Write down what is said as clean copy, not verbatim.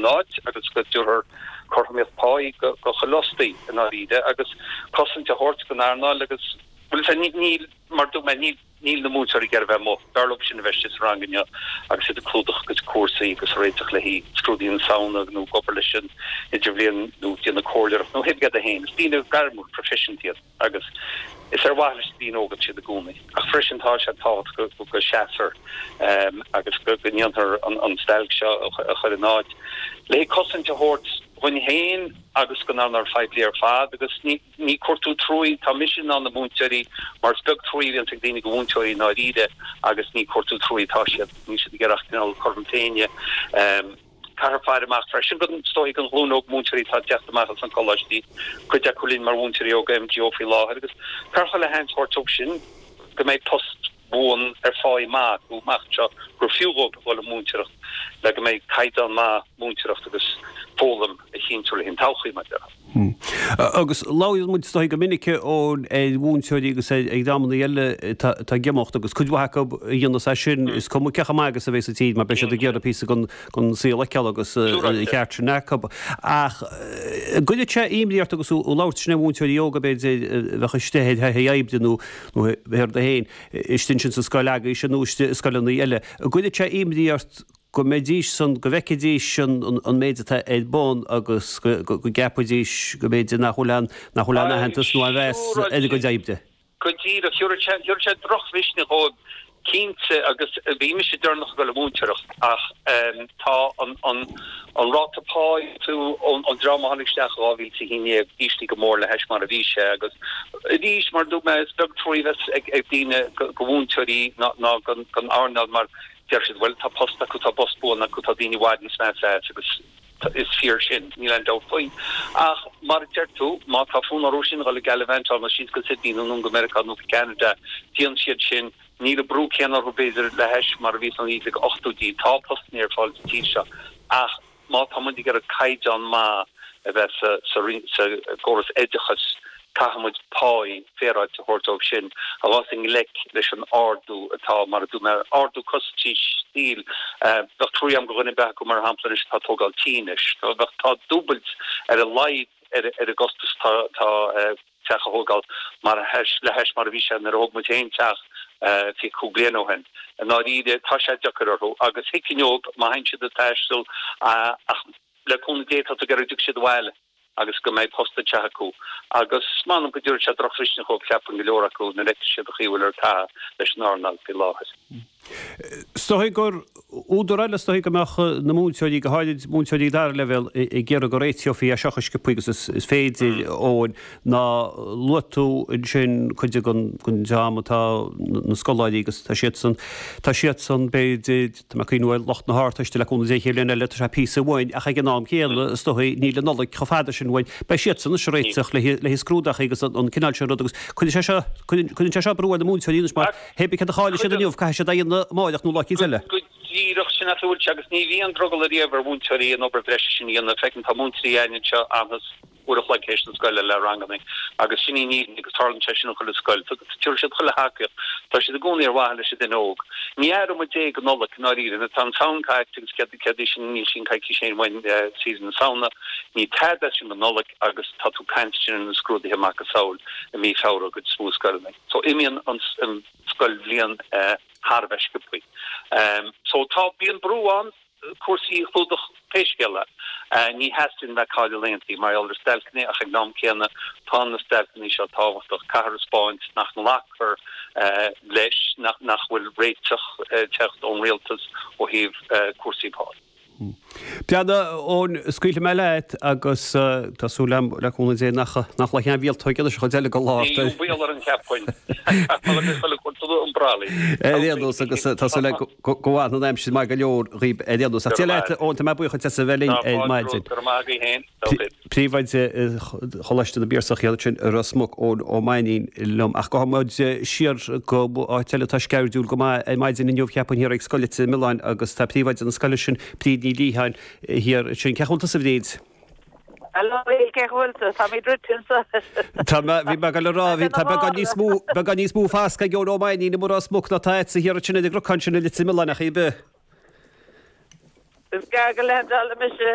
in áit agus go dtabharfar cothromaíocht páí go chuile fhostaí i ndáiríre agus cosaint a thabhairt don earnáil agus, bhuel, níl, mar a dúirt mé, níl. Níl na múinteoirí ag iarraidh a bheith amuigh. B'fhearr leo sin a bheith istigh sa rang inniu agus iad ag clúdach a gcuid cúrsaí agus ag réiteach le haghaidh scrúduithe na Samhna nó ag obair leis an idirbhliain nó ag déanamh comhairleoireacht nó pé rud é féin. Is daoine gairmiúil, proifisiúnta iad agus is ar mhaithe leis na daoine óga atá siad i gcónaí. Ach freisin tá sé tábhachtach go seasfar agus go ndéanfar an stailc seo a chur in áit le haghaidh cosaint a thabhairt dhúinn féin agus don earnáil phoiblí ar fad agus ní Ní cuartú truaí, tá mise in ann na múinteoirí, mar is beag truaí a bhíonns ag daoine go mhúinteoirí i ndáiríre agus ní cuartú truaí atá siad, níl siad ag iarraidh ach cineál cothrom Féinne. Caithfear faire amach freisin go, is dóigh, don ghlúin óg múinteoirí atá ag teacht amach as na coláistí, cuid acu linn mar mhúinteoirí óga MGO faoi láthair agus caithfear chuile sheans a thabhairt dóibh sin go mbeidh post buan ar pháí maith acu amach anseo gur fiú dhóibh a dhul ag múinteoireacht le go mbeidh caighdeán maith múinteoireacht agus foghlaim a chinntiú le haghaidh an todhchaí, mar a déarfá. Agus labhraíonn muid is dóigh go minic Eoin ar mhúinteoirí agus ar dhreamanna eile atá ag imeacht agus cuid mhaith acu a dhéanas é sin, is cuma cé chomh maith agus a bheidh sa tír mar beidh siad ag iarraidh píosa den saol a fheiceáil agus an ceart sin acu. Ach an gcuirfeadh sé imní ort agus tú ag labhairt ansin ar mhúinteoirí óga b'fhéidir a bheadh istigh ar thaithí oibre nó nó pé rud é féin, istigh ansin sa scoil agaibhse nó istigh i scoileanna eile. An gcuirfeadh sé imní ort go mbeidís san, go bhfeicfidís an méid atá ar bun agus go gceapfaidís go mb'fhéidir nach bhfuil aon, nach bhfuil aon aitheantas nó aon mheas ar a gcuid oibre? Go díreach. Thabharfadh sé, thabharfadh sé drochmhisneach dhóibh cinnte agus bhí mise deireanach ag dul ag múinteoireacht ach tá an, an, an ráta páí ón dream a tháinig isteach i 2011 íslithe go mór le hais mar a bhí sé agus arís mar a dúirt mé is beag truaí a bheas ag daoine go mhúinteoirí ná gon earnáil mar deir siad bhuel tá post acu, tá post buan acu, tá daoine i bhfad níos measa as agus is fíor sin, níl aon dabht faoi. Ach mar a deir tú, má tá fonn orthu sin dhul ag gallivant nó síos go Sydney nó anonn go Meiriceá nó go Ceanada, déanann siad sin. Níl an brú céanna orthu, b'fhéidir, le hais mar a bhí sna 1980idí. Tá postanna ar fáil sa tír seo ach má tá muid ag iarraidh caighdeán maith a bheith sa gcóras oideachais, caithfidh muid páí féaráilte a thabhairt dóibh sin a ghabhas i ngleic leis an ardú atá, mar a dúirt mé, ardú costaisí saoil. Bheadh truaí agam go dhuine ar bith acu, mar shampla, anois atá ag tógáil tí anois. Bheadh, tá dúbailt ar a laghad ar an gcostas atá. teach a thógáil mar a le hais mar a bhí sé nuair a thóg muid féin teach 25 bliain ó shin. I ndáiríre, tá sé deacair orthu agus thuigfinn dóibh má théann siad ag taisteal ach le cúnamh Dé tá tú ag iarraidh go dtiocfaidh siad abhaile agus go mbeidh post anseo acu agus m'anam go dtabharfaidh sé drochmhisneach dhóibh cheapfainn go leor acu nuair a fheicfidh siad an chaoi a bhfuil ar caitheamh leis an earnáil faoi láthair. Is dóigh gur údar eile is dóigh go mbeadh na múinteoirí, go háirid múinteoirí dara leibhéal, ag iarraidh go réiteofaí é seo chomh sciobtha agus is féidir, Eoin, ná luaigh tú ansin cuid den dream atá na scoláirí agus tá siadsan, tá siadsan b'fhéidir, tá mé ag cuimhniú ar lucht na hArdteiste le cúnamh Dé an chéad bhliain eile, tá sé píosa uainn ach ag an am céanna is dóigh níl an Nollaig chomh fada sin uainn. Beidh siadsan anois ag réiteach le haghaidh scrúdachaí agus an cineál sin rud agus cuireann sé seo, cuireann sé seo brú ar na múinteoirí anois mar, Hé bith céard a chaillfidh siad inniu, caithfidh siad é a dhéanamh amáireach nó lá eicínt eile. Go díreach, sin é a bhfuil sé agus ní bhíonn drogall ariamh ar mhúinteoirí an obair bhreise sin a dhéanamh. Feiceann, tá múinteoirí againn anseo a fhanfas uair a chloig théis na scoile le ranganna agus sin í an fhírinne agus tarlaíonn sé sin in chuile scoil. Tabharfaidh siad chuile thacaíocht. Tá siad i gcónaí ar mhaithe leis an duine óg. Ní aireoidh muid é go Nollaig, i ndáiríre. Nuair atá an tSamhain caite agus céard céard í sin, níl sin coicís féin uainn, saoire na Samhna. Ní tada é sin go Nollaig agus tá tú ag caint ansin ar na scrúduithe macasamhail i mí Feabhra i gcuid is mó scoileanna. So imíonn an scoilbhliain thar a bheith sciobthaí. So tá, bíonn brú ann cúrsaí a chlúdach pé scéal é. Ní theastaíonn bheith ag cailleadh laethantaí mar gheall ar stailceanna ach ag an am céanna tá na stailceanna seo tábhachtach. Caithfear a 'spáint nach nglacfar leis, nach bhfuil réiteach ag teacht ón rialtas ó thaobh cúrsaí pá. Breathnaigh, Eoin, scaoilfidh mé leat agus tá súil agam, le cúnamh Dé, nach nach loiceann mhíoltóg anois an chuid eile den lá. Níl baol ar an cheapfainn. Ar aon nós agus tá súil agam go bhfanfaidh an aimsir maith go leor dhaoib ar aon nós. Ach Dia leat, Eoin, tá mé buíoch duit as a bheith linn ar maidin. Go raibh maith agaibh féin. Príomhoide Choláiste na bPiarsach thiar ansin i Ros Muc, Eoin Ó Mainnín liom. Ach gabhfaidh muid siar go áit eile atá sceirdiúil go maith ar maidin inniu, cheapfainn, thiar ag Scoil Leitir Mealláin agus tá príomhoide na scoile sin, Bríd Ní Liatháin, thiar ansin. Cén chaoi a bhfuil tusa, a Bhríd? Hello, Neil, cén chaoi a bhfuil tú? Táimid druidte anseo. Tá mé, bhí mé ag dul a rá, bhí, tá beagán níos mó, beagán níos mó fascadh ag Eoin Ó Mainnín i Ros Muc ná atá agatsa thiar ansin ar an gcnocán sin i Leitir Mealláin, ach ar bith. Is gearr go leath-dala mise.